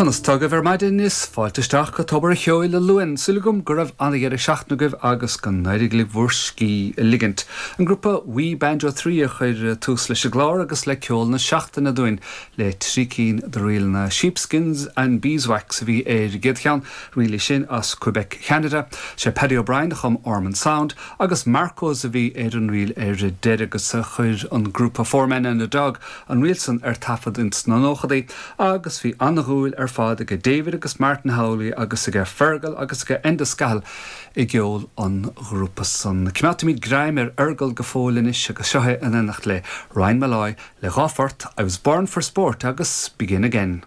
Conas tá agaibh ar maidin? Is fáilte isteach go Tobar a' Cheoil a Luain. Súil agam go raibh ana-dheireadh seachtaine agaibh agus go n-éirigh libh bhur scíth a ligint. An grúpa We Banjo 3 a chuir tús leis an gclár agus le ceol na seachtaine dúinn le trí cinn de ríleanna Sheepskins and Beeswax a bhí ar an gcéad cheann, ríl í sin as Quebec Cheanada. Sé Paddy O'Brien a chum Ormond Sound agus Marcos a bhí ar an ríl ar deireadh agus chuir an grúpa Four Men and a Dog an ríl san ar taifead ins na nóchadaí. Agus bhí an-dhúil ar fad aige David agus Martin Howley agus aige Fergal agus aige Enda Scahill i gceol an ghrúpa san. Coimeádfaimid greim ar Fhergal go fóill anois agus seo é in éineacht le Ryan Molloy le dha phort, I Was Born For Sport agus Begin Again.